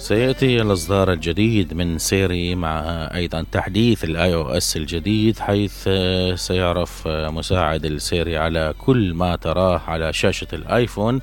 سيأتي الإصدار الجديد من سيري مع أيضا تحديث الاي او اس الجديد، حيث سيعرف مساعد السيري على كل ما تراه على شاشة الايفون.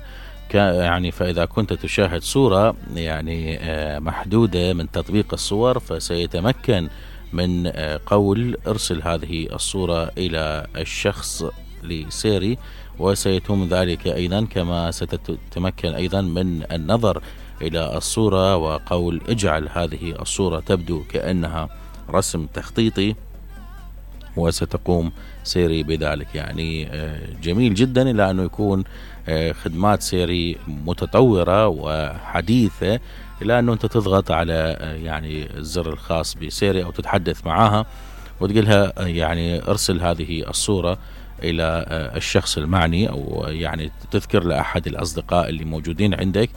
يعني فإذا كنت تشاهد صورة يعني محدودة من تطبيق الصور، فسيتمكن من قول ارسل هذه الصورة إلى الشخص لسيري، وسيتم ذلك أيضا كما ستتمكن أيضا من النظر إلى الصورة وقول اجعل هذه الصورة تبدو كأنها رسم تخطيطي، وستقوم سيري بذلك. يعني جميل جدا إلى أنه يكون خدمات سيري متطورة وحديثة، إلى أنه أنت تضغط على يعني الزر الخاص بسيري أو تتحدث معها وتقولها يعني ارسل هذه الصورة إلى الشخص المعني، أو يعني تذكر لأحد الأصدقاء اللي موجودين عندك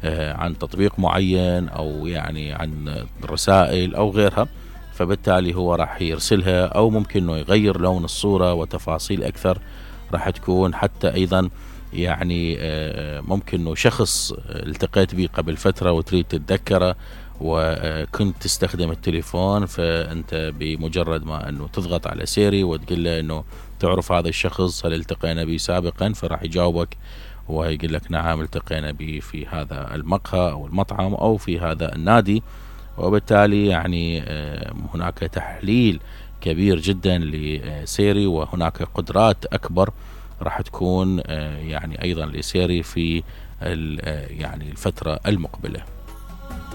عن تطبيق معين أو يعني عن رسائل أو غيرها، فبالتالي هو راح يرسلها، أو ممكن أنه يغير لون الصورة وتفاصيل أكثر راح تكون. حتى أيضا يعني ممكن أنه شخص التقيت به قبل فترة وتريد تتذكره وكنت تستخدم التليفون، فأنت بمجرد ما أنه تضغط على سيري وتقول له أنه تعرف هذا الشخص، هل التقينا به سابقا، فراح يجاوبك ويقول لك نعم التقينا به في هذا المقهى أو المطعم أو في هذا النادي. وبالتالي يعني هناك تحليل كبير جدا لسيري، وهناك قدرات أكبر راح تكون يعني أيضا لسيري في يعني الفترة المقبلة.